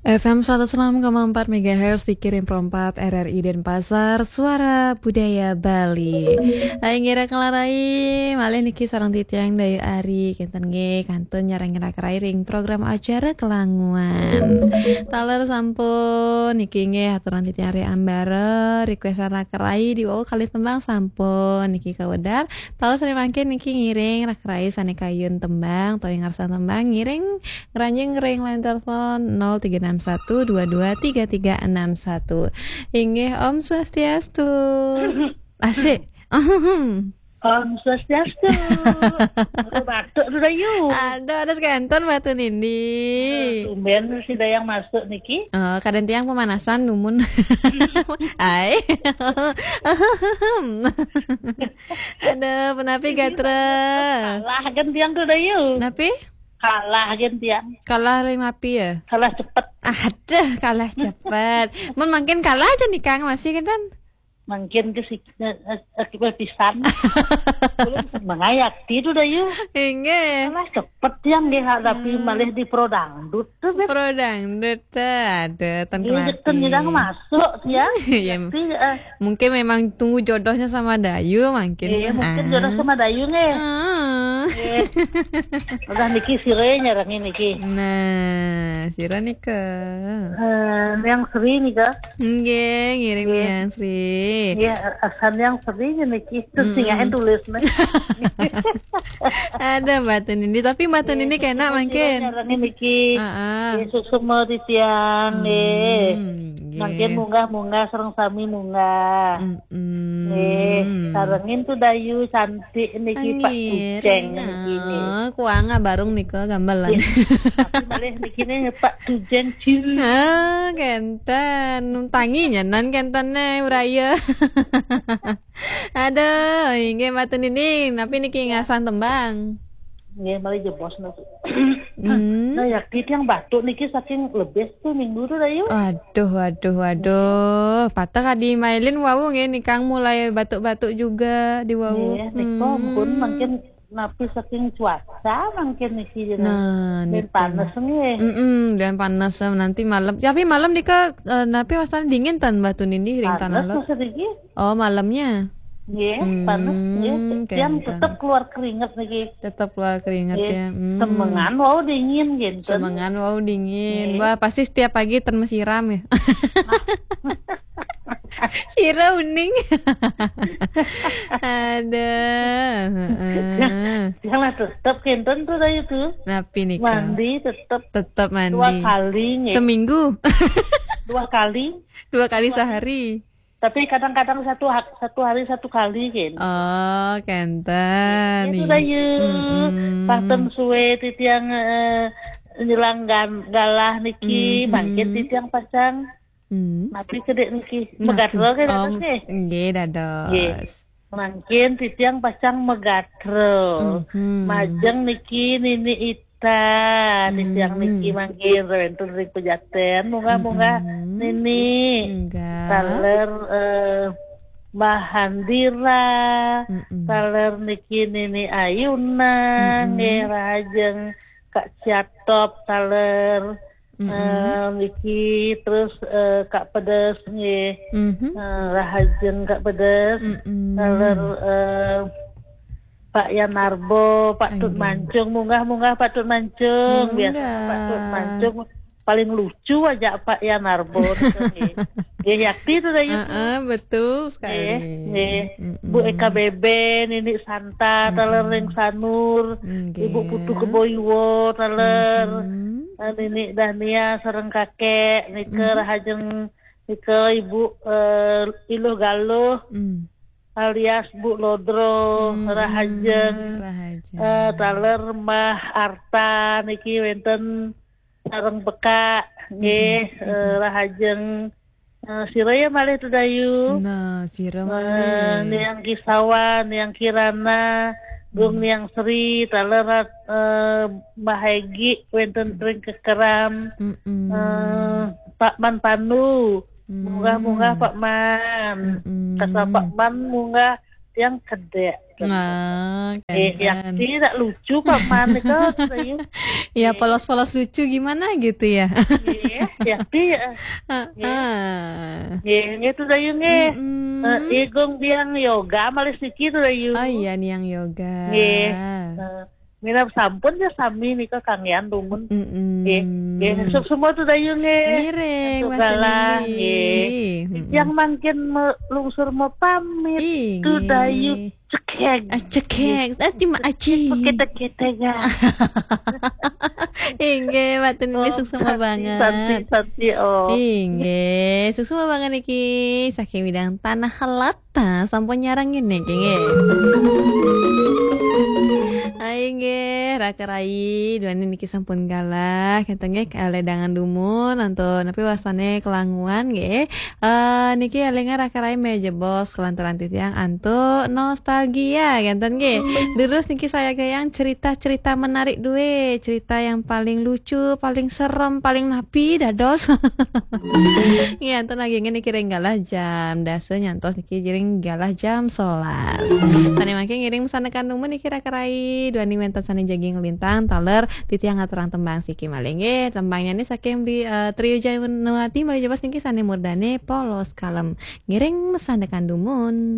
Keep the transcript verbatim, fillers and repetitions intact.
F M seratus enam koma empat megahertz dikirim perempat R R I Denpasar, Suara Budaya Bali. Hai ngira kalarai, malih niki sareng titiang Dayu Ari, kinten nggih kantun nyarengin rakarai ring program acara Kelanguan. Taler sampun niki nggih aturan titiang ri ambara, requestan rakarai diwau kalih tembang sampun niki kawedar. Taler sane mangkin niki ngiring rakarai sane kayun tembang, utawi ngarsan tembang ngiring ngranjing ring line telepon nol tiga enam satu dua dua tiga tiga enam satu. Inggih, Om Swastiastu. Asik. Om Swastiastu. Batuk tu Dayu. Ada, ada sekanton batu nindi. Tumben si Dayang masuk niki. Oh, kadang tiang pemanasan dumun. Ai. Ada penapi gatra. Kalah kan tiang tu Dayu. Napi? Kalah kan tiang. Kalah ring napi ya? Kalah cepet. Ada kalah cepet. Mun makin kalah aja nih Kang masih kan? Mungkin ke si eh, eh, eh, pisan. Belum mengayakti tu Dayu. Inggih. Kalah cepet yang dia hadapi hmm. Malih di pro dangdut tu. Pro dangdut ada tan kenal. Iya, nyidang masuk ya. Iya. Tapi, uh, mungkin memang tunggu jodohnya sama Dayu mungkin. Iya, mungkin ah. Jodoh sama Dayu nggih. Ah. Iya. Udah niki sire nyarengin niki. Nah, sira nika. Uh, yang Sri nika. Nggih, ngiring nggih. Yang Sri. Nggih, asan yang Sri niki. Terus mm -mm. Tulis nih. Ada batu nindi, tapi batu nindi kena mungkin. Nyarengin niki. Heeh. Yesus semua titiang nggih. Hmm, nggih. Mangkin munggah-munggah sareng sami munggah. Mm -mm. Nggih, sarengin tu Dayu cantik niki Pak Kuceng niki. Oh, kuang barung nika gambalan. Tapi malih niki nih Pak Tujeng Cil. Ah, kenten. Tangi nyanan kenten nih uraya. Aduh, inggih batu nindi, tapi niki ngasah tembang. Nggih, malih jebos niki. Hmm. Nah, yakti tiang batuk niki saking lebih tuh minggu tuh Dayu. Waduh, waduh, waduh. Patah kadi mailin wau nggih nikang mulai batuk-batuk juga di wau. Nggih, nika hmm. Pun mungkin napi saking cuaca mungkin niki. Nah, dan panas nggih. Mm -mm, dan panas nanti malam. Tapi malam nika uh, napi wastan dingin tan batu nindi ring tanah. Panas. Oh, malamnya. Nggih, hmm, panas nggih. Yang tetap keluar keringat niki. Tetap keluar keringat ya. Hmm. Semengan wau dingin gitu. Semengan wau dingin. Nggih. Wah, pasti setiap pagi ten mesiram ya. Sira uning. Ada. Yang lah tetap kenten tuh tadi tuh. Napi nih. Mandi tetap. Tetap mandi. Dua kali nggih. Seminggu. Dua kali. Dua kali sehari. Tapi kadang-kadang satu satu hari satu kali kan. Oh, kenten. Itu dah ya. Paten suwe titiang uh, nyelang galah niki, mm -hmm. Mangkin titiang pasang. Mm. Tapi kedek niki. Megatro kan um, nggih. Nggih, dados. Mangkin titiang pasang megatro. Mm -hmm. Majeng niki nini itu Ta, di siang niki mangkin wénten ring pejaten, munggah-munggah nini. Taler eh, Mbah Handira, taler niki nini Ayuna, nggih rahajeng Kak Ciatop, taler eh, niki terus eh, Kak Pedes nggih. Eh, rahajeng Kak Pedes, taler eh, Pak Yanarbo, Pak Tut Mancung, munggah-munggah Pak Tut Mancung. Biasa Pak Tut Mancung paling lucu aja Pak Yanarbo. Nggih yakti itu dah itu. Uh, betul sekali. Nggih. Bu Eka Bebe, Nini Santa, Talereng Sanur, Ibu Putu Keboiwo, Taler, eh, Nini Dania, sareng kakek, nika rahajeng nika Ibu eh, Iluh Galuh. Alias Bu Lodro, hmm, Rahajeng, Rahajeng. Uh, taler Mbah Arta niki wénten sareng peka nggih, hmm, uh, Rahajeng uh, sira ya malih Tudayu. Nah, sira malih. Uh, Niang Kisawan, Niang Kirana, Gung hmm. Niang Sri, taler uh, Mbah Egi wénten ring kekeram. Hmm. Uh, Pak Man Panu. Munggah-munggah Pak Man. Kasa Pak Man munggah tiang kedek. Nah, Eh, kan. Yakti tak lucu paman itu, Dayu. Ya, polos-polos lucu gimana gitu ya. Eh, Yakti ya. Heeh. Nggih, nggih tu Dayu nggih. Mm-mm. Eh, Igung biang yoga malih siki tu Dayu. Oh iya, Niang Yoga. Nggih. Eh, Mira sampun ya sami nika kanggian dumun. Mm-mm. Nggih. Nggih, suksma tu Dayu nggih. Ngiring, Satu Mas galah, Dendi. nggih. Mm-mm. Yang mangkin me- lungsur mau pamit. Inggih. Tu Dayu cekek. Ah, cekek. Ah, terima kasih. Kita-kita ya. Inggih, Mbak Tun ini Oh, suksma santi, banget. Santi, santi, oh. Inggih, suksma banget niki. Saking bidang tanah helata sampun nyarang ini nggih. Inggih, Raka Rai, duaning niki sampun galah, ngeten nggih, kalih dangan dumun antuk napi wasane kelanguan nggih. Eh, niki elinga Raka Rai meja bos kelanturan titiang antuk nostalgia ngeten nggih. Terus niki saya gayang cerita-cerita menarik duwe, cerita yang paling lucu, paling serem, paling napi dados. Nggih, antuk nagingin niki ring galah jam dasa nyantos niki ring galah jam sebelas. Sane mangke ngiring sandekan dumun niki Raka Rai, duaning wenten sane jagi nglintang taler titiang ngaturang tembang siki malih nggih. Tembangnya ini saking di eh, Trio Janawati malih jebos niki sane murdane Polos Kalem. Ngiring sandekan dumun.